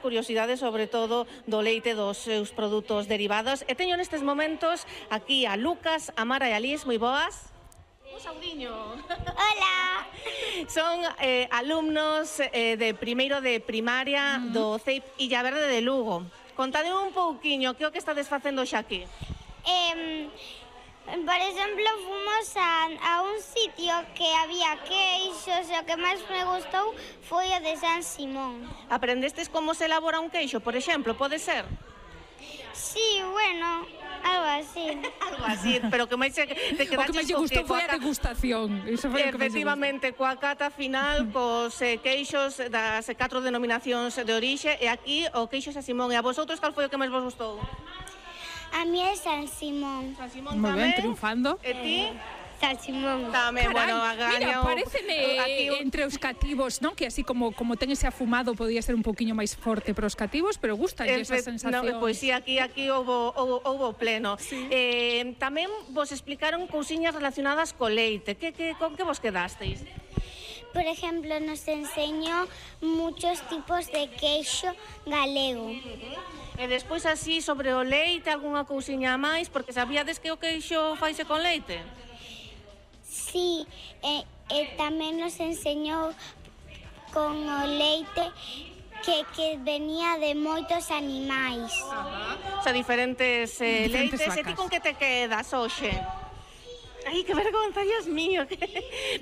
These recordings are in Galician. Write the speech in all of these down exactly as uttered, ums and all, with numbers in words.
curiosidades, sobre todo do leite dos seus produtos derivados. E teño nestes momentos aquí a Lucas, a Mara e a Liz, moi boas. Un saudiño. Hola. Son eh, alumnos eh, de primeiro de primaria uh -huh. do C E I P Illa Verde de Lugo. Contade un pouquiño, que o que estades facendo xa aquí? Eh, por exemplo, fomos a, a un sitio que había queixos e o que máis me gustou foi o de San Simón. Aprendestes como se elabora un queixo, por exemplo, pode ser? Sí, bueno, algo así. Algo así, pero que máis te quedaches... O que máis lle gustou foi a degustación. Efectivamente, coa cata final, cos eh, queixos das catro denominacións de orixe, e aquí o queixo San Simón. E a vosotros, cal foi o que máis vos gustou? A mí é San Simón. San Simón moi tamén. ben, triunfando. E ti? San Simón. Tamén, bueno, a mira, pareceme aquí entre os cativos, non? Que así como como ten ese afumado podía ser un poquinho máis forte para os cativos, pero gusta esa sensación. No, pois si, aquí aquí houbo houbo pleno. Sí. Eh, tamén vos explicaron cousiñas relacionadas co leite. Que que con que vos quedasteis? Por ejemplo, nos enseñó muchos tipos de queixo galego. E despois así sobre o leite, algunha cousiña máis, porque sabíades que o queixo faise con leite? Sí, e, e tamén nos enseñou con o leite que, que venía de moitos animais. Ajá. O sea, diferentes, eh, diferentes leites. vacas. E ti con que te quedas, hoxe? Ai, que vergonza, Dios mío.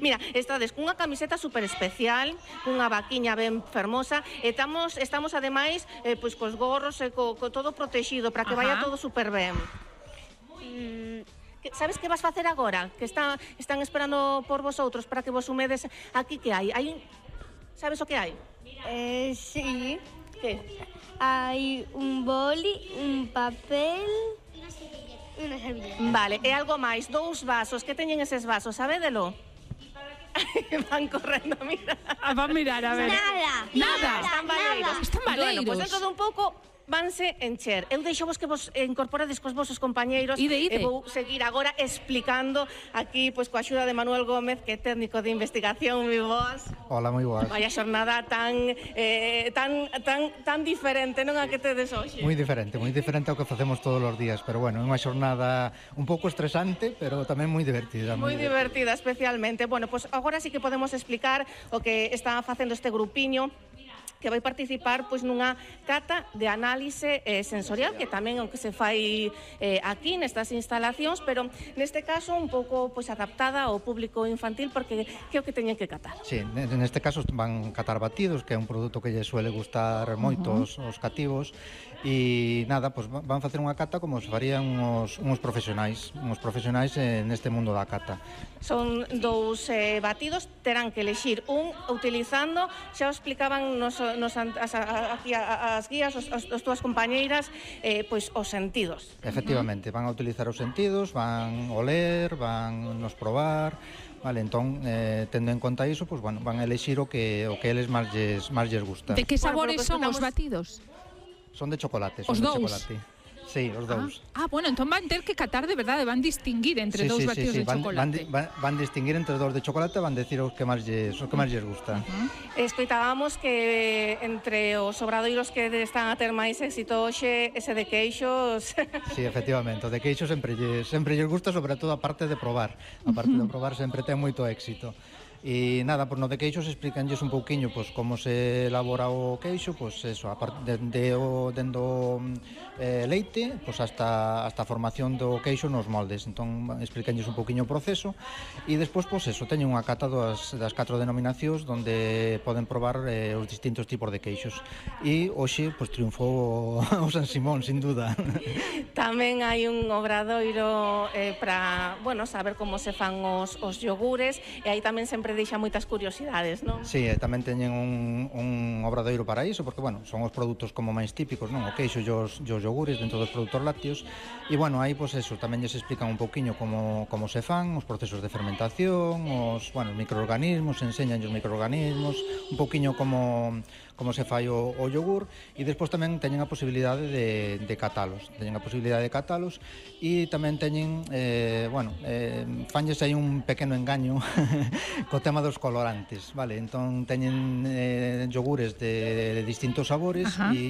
Mira, estades cunha camiseta super especial, cunha vaquiña ben fermosa, e estamos, estamos ademais, eh, pois, cos gorros e co, co todo protegido, para que Ajá. vaya todo super ben. Mm, sabes que vas facer agora? Que está, están esperando por vosotros para que vos sumedes. Aquí que hai? Hai un... Sabes o que hai? Eh, sí. Que? Hai un boli, un papel... Una servilleta. Vale, e algo máis, dous vasos, que teñen eses vasos, sabédelo? Van correndo, mira. Van mirar, a ver. Nada, nada. Están baleiros. Están baleiros. Bueno, pois dentro dun pouco vanse encher. Eu deixo vos que vos incorporades cos vosos compañeiros. Ide, ide. E vou seguir agora explicando aquí, pois, coa axuda de Manuel Gómez, que é técnico de investigación, moi boas. Hola, moi boas. Vaya xornada tan, eh, tan, tan, tan diferente, non a que tedes hoxe? Moi diferente, moi diferente ao que facemos todos os días, pero bueno, é unha xornada un pouco estresante, pero tamén moi divertida. Moi divertida, especialmente. Bueno, pois agora sí que podemos explicar o que está facendo este grupiño que vai participar pois nunha cata de análise eh, sensorial, que tamén é o que se fai eh, aquí nestas instalacións, pero neste caso un pouco pois adaptada ao público infantil, porque que é o que teñen que catar. Sí, neste caso van catar batidos, que é un produto que lle suele gustar moito uh -huh. os, os cativos, e nada, pois van facer unha cata como se farían uns, uns profesionais, uns profesionais eh, neste mundo da cata. Son dous eh, batidos, terán que elexir un utilizando, xa o explicaban nos, nos as, aquí as guías, os, as, as túas compañeiras, eh, pois os sentidos. Efectivamente, van a utilizar os sentidos, van oler, van nos probar. Vale, entón, eh, tendo en conta iso, pues, bueno, van a elexir o que o que eles máis lles, máis lles gusta. De que sabores bueno, son os batidos? Son de chocolate, son Os de dous? chocolate. Sí, os dous. Ah, ah, bueno, entón van ter que catar de verdade, van distinguir entre sí, dous sí, batidos sí, sí. de Van, chocolate. van, van distinguir entre dous de chocolate, van decir os que máis lles, os que máis lles gusta. Uh -huh. Escoitábamos que entre os obradoiros que están a ter máis éxito hoxe, ese de queixos... Sí, efectivamente, o de queixo sempre lles, sempre lles gusta, sobre todo a parte de probar. A parte de probar sempre ten moito éxito. E nada, por no de queixos explicanlles un pouquiño pois como se elabora o queixo, pois eso, a parte de, de o dendo eh, leite, pois hasta hasta a formación do queixo nos moldes. Entón explicanlles un pouquiño o proceso e despois pois eso, teñen unha cata das das catro denominacións onde poden probar eh, os distintos tipos de queixos. E hoxe pois triunfou o San Simón, sin duda. Tamén hai un obradoiro eh, para, bueno, saber como se fan os os yogures, e aí tamén sempre deixa moitas curiosidades, non? Sí, e tamén teñen un, un obradoiro para iso, porque, bueno, son os produtos como máis típicos, non? O queixo e os, os yogures dentro dos produtos lácteos, e, bueno, aí, pois, eso, tamén lles explican un poquinho como, como se fan, os procesos de fermentación, os, bueno, os microorganismos, enseñan os microorganismos, un poquinho como, como se fai o, o yogur, e despois tamén teñen a posibilidade de, de catalos, teñen a posibilidade de catalos, e tamén teñen, eh, bueno, eh, fanlles aí un pequeno engaño co tema dos colorantes, vale? Entón teñen eh, yogures de, de distintos sabores e